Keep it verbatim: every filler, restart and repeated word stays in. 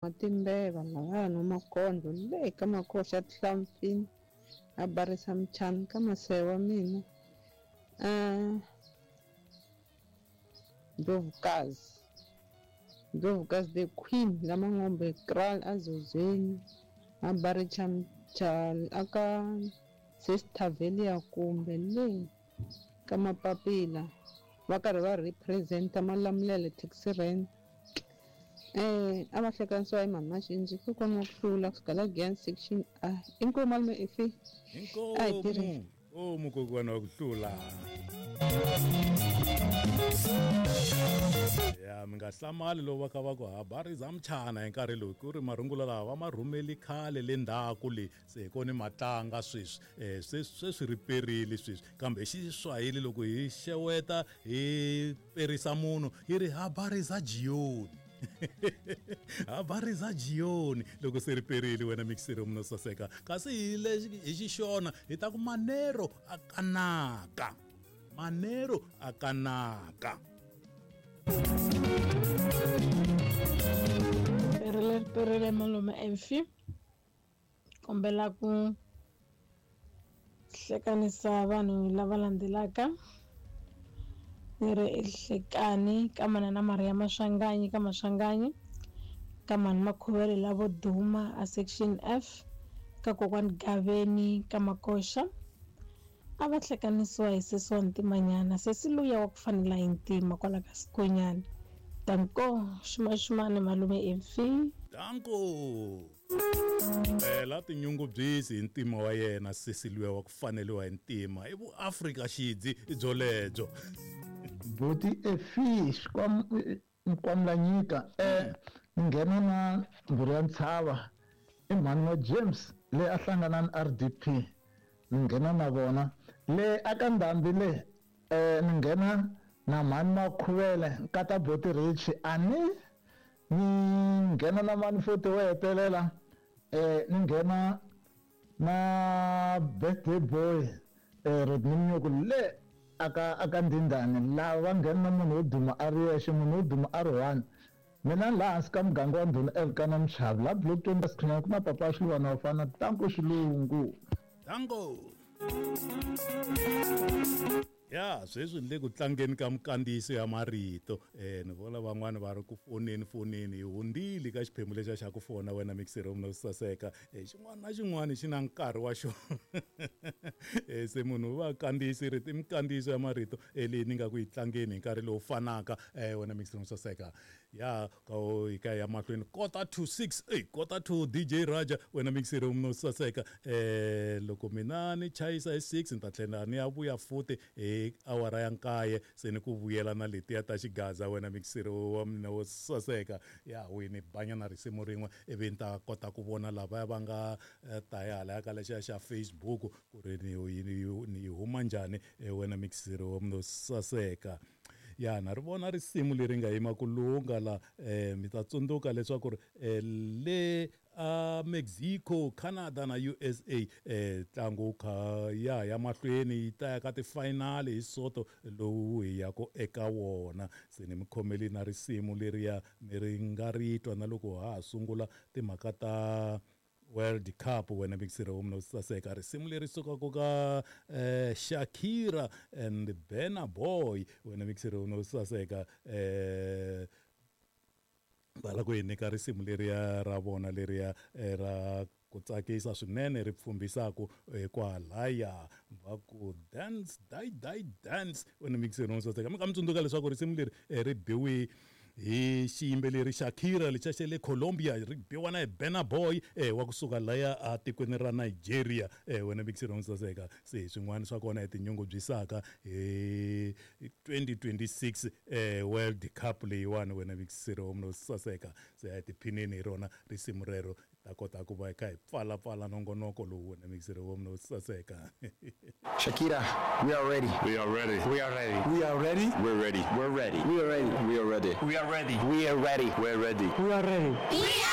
Matimbeva lavaya no makondlo le ka makoxa tihlampfini a barisa mchana ka masewa mina uh, Ndlovukazi Ndlovukazi the queen lamangombe kraal azozweni a baricha mchana aka Sister Velia kumbe le ka mapapila va karhi va representa Malamulele taxi rank. Eh, a va hlekanisiwa hi mhani Maxinji kokwana wa ku hlula kusuka la Giyani section A. Inkomu malume ifi. Inkomu. Inkomu kokwana wa ku hlula. Ya mi nga hlamali loko va kha va ku habari za mchana hi nkarhi lowu ku ri marungula lawa va ma rhumeli khale le ndzhaku le se hi kona matlanga sweswi um sweswi sweswi ri perile sweswi kambe hi Xiswahili loko hi xeweta hi perisa munhu hi ri habari za jioni. Habari za jioni loko se ri perile wena mixero munhu saseka kasi hi le hi Xixona hi ta ku manero a kanaka manero a kanaka. Perile perile malume Emfi kombela ku hlekanisa vanhu lava landzelaka ni ri ehlekani ka manana Maria Maswanganyi ka Maswanganyi ka mani Makhuvele lavo duma a section F ka kokwani Gaveni ka Makoxa a va hlekanisiwa hi sesi wa ntimanyana sesi luya wa ku fanela hi ntima kwala ka Sikonyana. Danko xumaxumani malume Emfi. Danko la tinyungubyisi hi ntima wa yena sesi luya wa ku faneliwa hi ntima i vuAfrika xidzi byolebyo. Boti Efi Nkwamlanyika eh nghena na mbhuri ya ntshava i mhani wa James le a hlangana na R D P ni nghena na vona le aka Ndhambi le eh ni nghena na mhani Makhuvele nkata Boti Rich ani ni nghena na mhani futhi wo hetelela eh ni nghena na birthday boy eh Rodney Mnyuku le aka aka Ndindani lava va nghena na munhu wo duma a ri yexe munhu wo duma a ri one mina laha hansi ka muganga wa Ndhuna Elkana Mchavi la block twenty Sikhunyana ku na papa Xilwana wa fana Tanko Xilungu. Tanko. Ya sweswi ni le ku tlangeni ka mikandziyiso ya marito eh ni vona van'wani va ri ku foneni foneni hi hundzile ka xiphemu lexiya xa ku fona wena mixero munhu saseka eh xin'wana na xin'wana xi na nkarhi wa xona eh se munhu va kandziyisi rito i mikandziyiso ya marito eh leyi ni nga ku yi tlangeni hi nkarhi lowu fanaka eh wena mixero saseka ya ka hi ka ya mahlweni kota to six eh kota to D J Raja wena mixero munhu saseka eh loko mina ni chayisa hi six ni ta tlhela ni ya vuya futhi eh awara ya nkaye se ni ku vuyela na letiya ta xigaza wena mixero wa mina wo saseka ya wini banyana risimu rin'we ivi ni ta kota ku vona lavaya va nga ta ya hala ka lexiya xa Facebook ku ri ni ni huma njhani wena mixero wa mina wo saseka. Ya na ri vona risimu leri nga yima ku lunga la eh mi ta tsundzuka leswaku ri le a Mexico, Canada na U S A eh tlangu kha ya ya mahlweni yi ta ya ka ti-final hi Soto lowu hi ya ku eka wona se ni mi khomeli na risimu leriya mi ri nga ri twa na loko ha ha sungula timhaka ta World Cup wena mixero wa mina saseka risimu leri sukaka ka eh, Shakira and Burna Boy wena mixero wa mina saseka eh va la ku hi nyika risimu leriya ra vona leriya ra ku tsakisa swinene ri pfumbisaku kwalaya va ku dance die die dance wena mixero wa saseka mi nga mi tsundzuka leswaku risimu leri ri biwe hi xiyimbeleri Shakira lexa xa le Colombia ri biwa na hi Burna Boy eh wa kusuka laya a tikweni ra Nigeria eh wena mixero wa saseka se swin'wana swa kona hi tinyungubyisaka hi twenty twenty-six eh World Cup leyiwani wena mixero wa saseka se hi tiphinini hi rona risimu rero ta kota ku va hi kha hi pfala pfala nongonoko lowu wena mixero wa saseka. Shakira, we are ready. We are ready. We are ready. We are ready. We're ready. We're ready. We are ready. We are ready. We are ready. We are ready. We're ready. We are ready. We are